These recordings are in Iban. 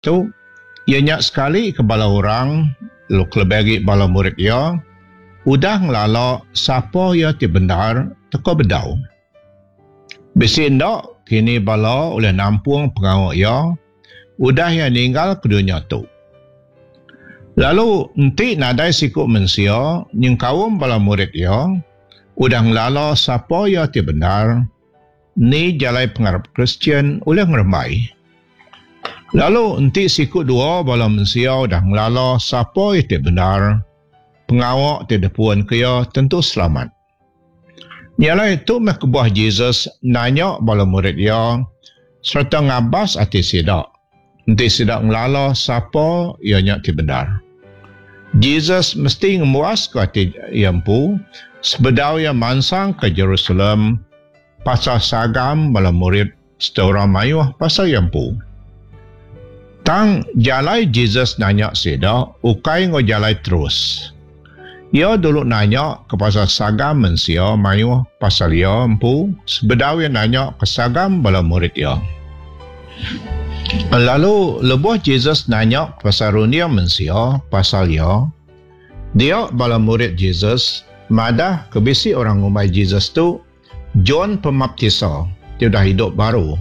Tu iya nya sekali ke bala orang lalu kelebih agi bala murid iya udah ngelala sapa iya ti bendar teka bedau. Bisi enda kini bala ulih nampung pengawa iya udah iya ninggalka dunya tu. Lalu enti nadai siku mensia nyengkaum bala murid iya udah ngelala sapa iya ti bendar, Ni jalai pengarap Kristian ulih ngerembai? Lalu enti siku dua bala mensia udah ngelala sapa iya ti bendar, pengawa ti dipunka iya tentu selamat. Nya alai tu meh kebuah Jesus nanya bala murid iya sereta ngabas ati sida enti sida ngelala sapa iya nya ti bendar. Jesus mesti ngemuaska ati iya empu sebedau iya mansang ke Jerusalem pasal sagam bala murid sereta orang mayuh pasal iya empu. Tang jalai Jesus nanya sida ukai enggau jalai terus. Iya dulu nanya ke pasal sagam mensia mayuh pasal iya empu sebedau iya nanya ke sagam bala murid iya. Lalu lebuh Jesus nanya pasal runding mensia pasal iya, dia bala murid Jesus madah ke bisi orang ngumbai Jesus tu John Pemaptisa ti udah idup baru.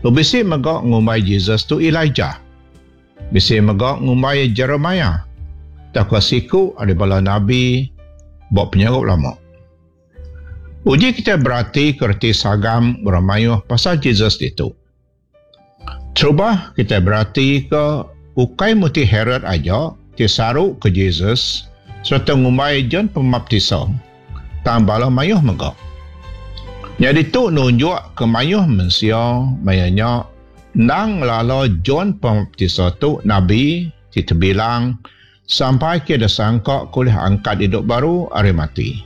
Lalu bisi mega ngumbai Jesus tu Elijah. Bisi mega ngumbai iya Jeremiah tauka siku ari bala nabi ba penyaup lama. Uji kitai beratika reti sagam orang mayuh pasal Jesus ditu. Terubah kitai beratika ukai muti Herod aja ti saruka Jesus sereta ngumbai John Pemaptisa, tang bala mayuh mega. Nyadi tu nunjukka mayuh mensia maya nya endang ngelala John Pemaptisa tu nabi ti tebilang sampai ke disangka ke ulih angkat idup baru ari mati.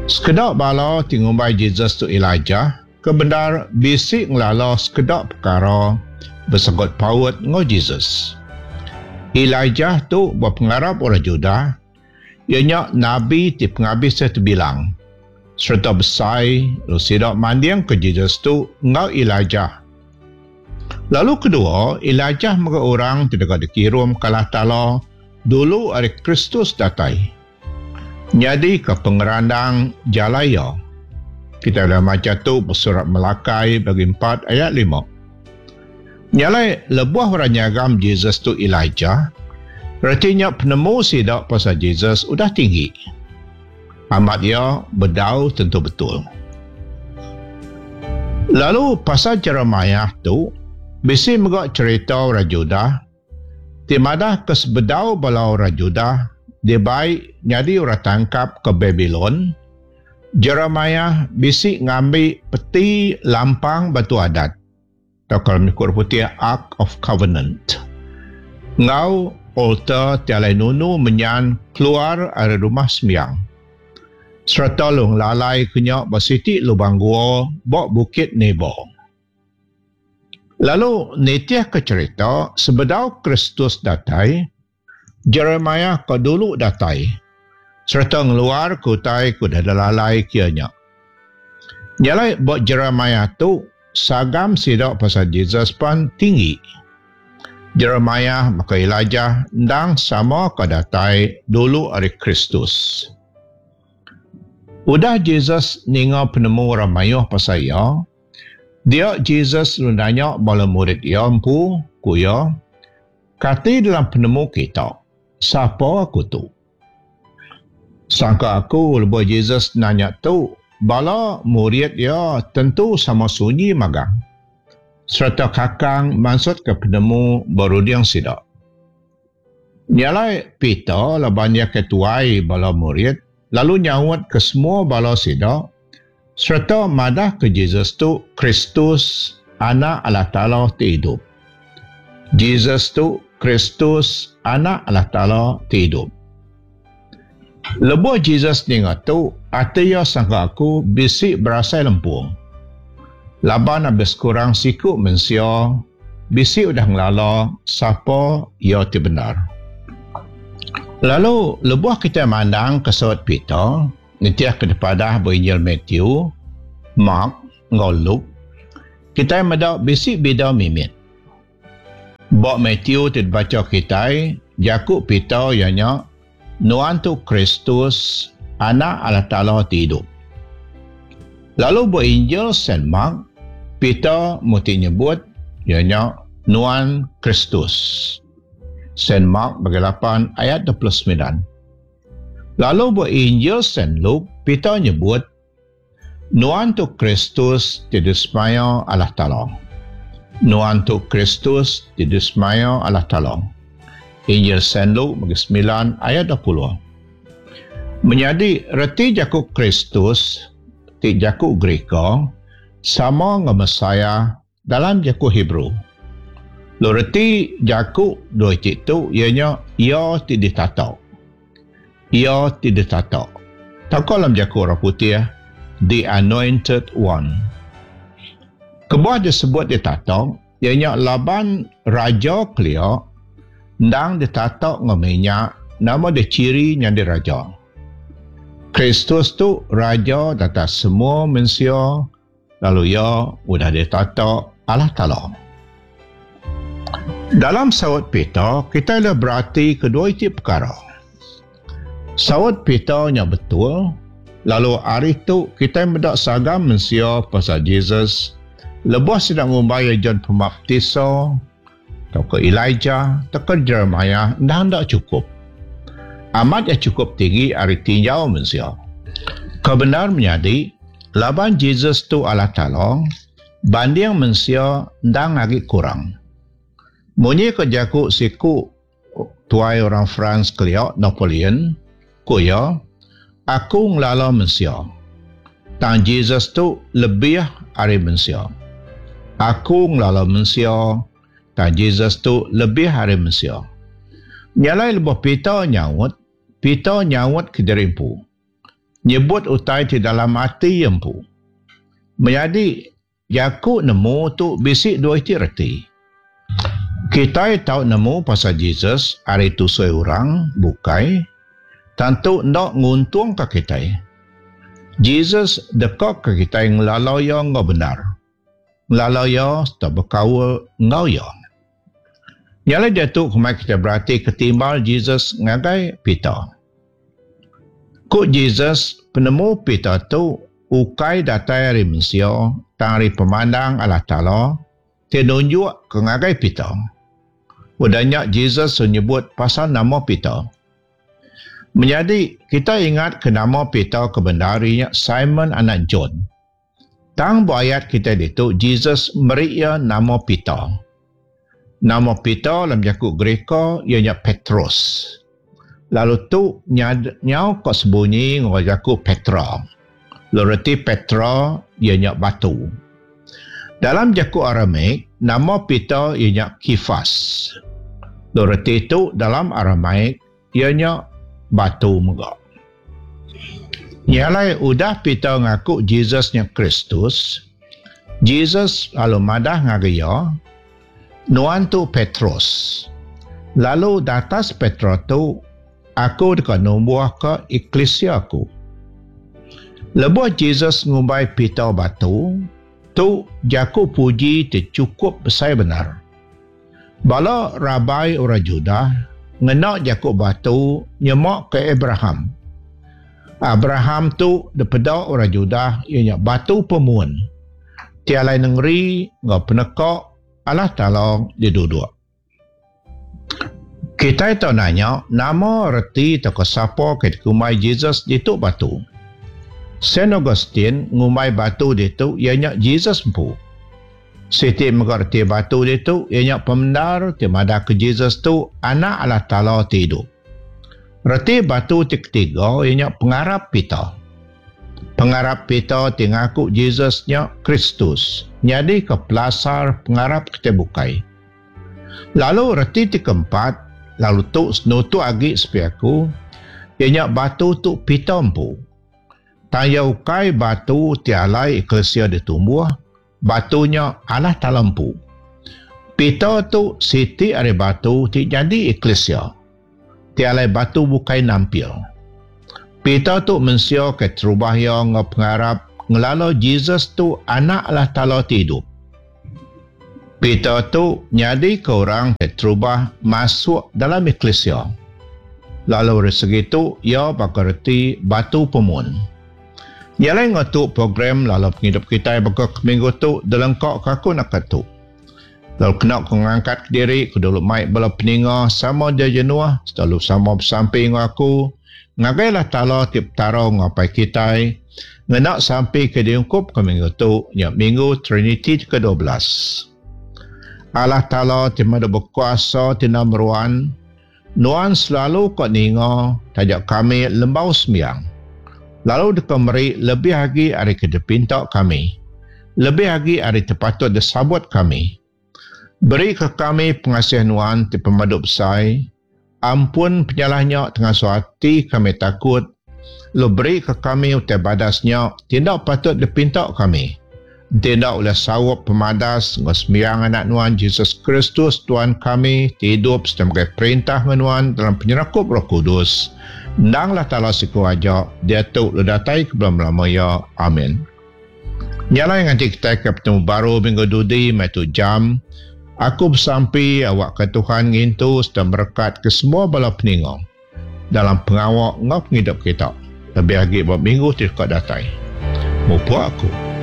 Sekeda bala ti ngumbai Jesus tu Elijah, Ke bendar bisi ngelala sekeda pekara besangkut paut enggau Jesus. Elijah tu ba pengarap orang Judah, iya nya nabi ti pengabis iya tebilang sereta besai lalu sida mandingka Jesus tu enggau Elijah. Lalu kedua, Elijah mega orang ti deka dikirumka Allah Taala dulu ari Kristus datai. Nyadika pengerandang jalai iya. Kitai ulih macha tu ba surat Malakai bagi empat ayat lima. Nya alai lebuh orang nyagam Jesus tu Elijah, reti nya penemu sida pasal Jesus udah tinggi. Amat iya bedau tentu betul. Lalu pasal Jeremiah tu, bisi mega cherita orang Judah ti madahka sebedau bala orang Judah dibai nyadi orang tangkap ke Babilon, Jeremiah bisi ngambi peti lampang batu adat, tauka dalam jaku orang putih Ark of Covenant, enggau altar ti alai nunu menyan keluar ari rumah sembiang, sereta lalu ngelalaika nya ba siti lubang gua ba Bukit Nebo. Lalu nitihka cherita, sebedau Kristus datai, Jeremiah ke dulu datai sereta ngeluarka utai ke udah dilalai ke iya nya. Nya alai ba Jeremiah tu, sagam sida pasal Jesus pan tinggi. Jeremiah baka Elijah endang sama ke datai dulu ari Kristus. Udah Jesus ninga penemu orang mayuh pasal iya, Dia Jesus lalu nanya bala murid iya empu, ku iya, Kati dalam penemu kita, sapa aku tu? Sangka aku lebuh Jesus nanya tu, bala murid iya tentu sama sunyi magang sereta kakang mansutka penemu ba runding sida. Nya alai Peter laban iya ke tuai bala murid lalu nyaut ke semua bala sida sereta madahka Jesus tu Kristus, Anak Allah Taala ti idup. Jesus tu Kristus, Anak Allah Taala ti idup. Lebuh Jesus ninga tu, ati iya sangka aku bisi berasai lempung. Laban abis kurang siku mensia bisi udah ngelala sapa iya ti bendar. Lalu lebuh kitai mandangka saut Peter nitihka dipadah ba Injil Matthew, Mark enggau Luke, kitai meda bisi bida mimit. Ba Matthew ti dibacha kitai, jaku Peter iya nya, Nuan tu Kristus, Anak Allah Taala ti idup. Lalu ba Injil Saint Mark, Peter muti nyebut iya nya Nuan Kristus. Saint Mark bagi lapan ayat 29. Lalu ba Injil Saint Luke, Peter nyebut Nuan tu Kristus ti disemaya Allah Taala. Nuan tu Kristus ti disemaya Allah Taala. Injil Saint Luke bagi semilan ayat 20. Menyadi reti jaku Kristus ti jaku Gerika sama enggau Messiah dalam jaku Hebrew. Lalu reti jaku dua iti tu iya nya iya ti ditata. Iya ti ditata. Tauka dalam jaku orang putih the anointed one. Kebuah disebut ditata iya nya laban raja kelia endang ditata enggau minyak nama dichiri nyadi raja. Kristus tu raja datas semua mensia lalu iya udah ditata Allah Taala. Dalam saut Peter, kitai ulih beratika dua iti pekara. Saut Peter nya betul, lalu ari tu kitai meda sagam mensia pasal Jesus lebuh sida ngumbai iya John Pemaptisa tauka Elijah tauka Jeremiah endang enda chukup. Amat iya chukup tinggi ari tinjau mensia. Ke bendar menyadi, laban Jesus tu Allah Taala, banding mensia endang agi kurang. Munyi ko jaku siku tuai orang France kelia, Napoleon, ku iya, Aku ngelala mensia. Tang Jesus tu lebih ari mensia. Aku ngelala mensia, tang Jesus tu lebih ari mensia. Nya alai lebuh Peter nyaut, Peter nyaut kediri empu. Nyebut utai ti dalam ati iya empu. Menyadi, Jaku nemu tu bisi dua iti reti. Kitai tau nemu pasal Jesus ari tusui orang bukai tang tu enda nguntungka kitai. Jesus dekaka kitai ngelala iya enggau bendar, ngelala iya sereta bekaul enggau iya. Nya alai diatu kemai kitai beratika timbal Jesus ngagai Peter. Ku Jesus, penemu Peter tu ukai datai ari mensia tang ari pemandang Allah Taala ti nunjukka ngagai Peter. Udah nya Jesus nyebut pasal nama Peter. Menyadi, kita ingatka nama Peter ke bendar iya nya Simon anak John. Tang ba ayat kitai ditu, Jesus meri iya nama Peter. Nama Peter dalam jaku Gerika iya nya Petros. Lalu tu nyau ka sebunyi enggau jaku Petra. Lalu reti Petra iya nya batu. Dalam jaku Aramaik, nama Peter iya nya Kefas. Lalu reti tu dalam Aramaik iya nya batu mega. Nya alai udah Peter ngaku Jesus nya Kristus, Jesus lalu madah ngagai iya, Nuan tu Petrus, lalu datas Petra tu aku deka numbuhka eklisia aku. Lebuh Jesus ngumbai Peter batu, tu jaku puji ti chukup besai bendar. Bala rabai orang Judah ngena jaku batu nyema ke Abraham. Abraham tu dipeda orang Judah iya nya batu pemun ti alai nengeri enggau peneka Allah Taala diduduk. Kitai tau nanya nama reti tauka sapa ke dikumbai Jesus ditu batu. Saint Augustine ngumbai batu ditu iya nya Jesus empu. Siti mega reti batu ditu iya nya pemendar ti madahka Jesus tu Anak Allah Taala ti idup. Reti batu ti ketiga iya nya pengarap Peter. Pengarap Peter ti ngaku Jesus nya Kristus nyadika pelasar pengarap kitai bukai. Lalu reti ti keempat, lalu tu senutuk agi sepi aku, iya nya batu tu Peter empu. Tang iya ukai batu ti alai eklisia ditumbuh, Batu nya Allah Taala empu. Peter tu siti ari batu ti nyadi eklisia, ti alai batu bukai nampil. Peter tu mensia ke terubah iya enggau pengarap ngelala Jesus tu Anak Allah Taala ti idup. Peter tu nyadika orang ti terubah masuk dalam eklisia. Lalu ari segi tu iya baka reti batu pemun. Nya alai enggau tu program lalu pengidup kitai baka ke minggu tu dilengkaka aku naka tu. Lalu kena ku ngangkat kediri ku dulu mai bala peninga sama dia jenuh selalu sama besampi enggau aku ngagai Allah Taala ti Petara enggau Apai kitai ngena sampi ke diungkupka minggu tu nya minggu Triniti ti ke 12. Allah Taala ti madu bekuasa ti enda meruan Nuan selalu ka ninga taja kami lembau sembiang, lalu deka meri lebih agi ari ke dipinta kami, lebih agi ari ti patut disabut kami. Berika kami pengasih Nuan ti pemadu besai, ampun penyalah nya ti ngasuh ati kami takut, lalu berika kami utai badas nya ti enda patut dipinta kami. Enti enda ulih saup pemadas enggau sembiang Anak Nuan Jesus Kristus Tuan kami ti idup sereta megai perintah enggau Nuan dalam penyerakup Roh Kudus, endang Allah Taala siku aja, diatu lalu datai ke belama-lama iya. Amin. Nya alai nganti kitai ke betemu baru minggu dudi meh tu jam, aku besampi awakka Tuhan ngintu sereta merekatka semua bala peninga dalam pengawa enggau pengidup kita, lebih agi ba minggu ti deka datai. Mupuk aku.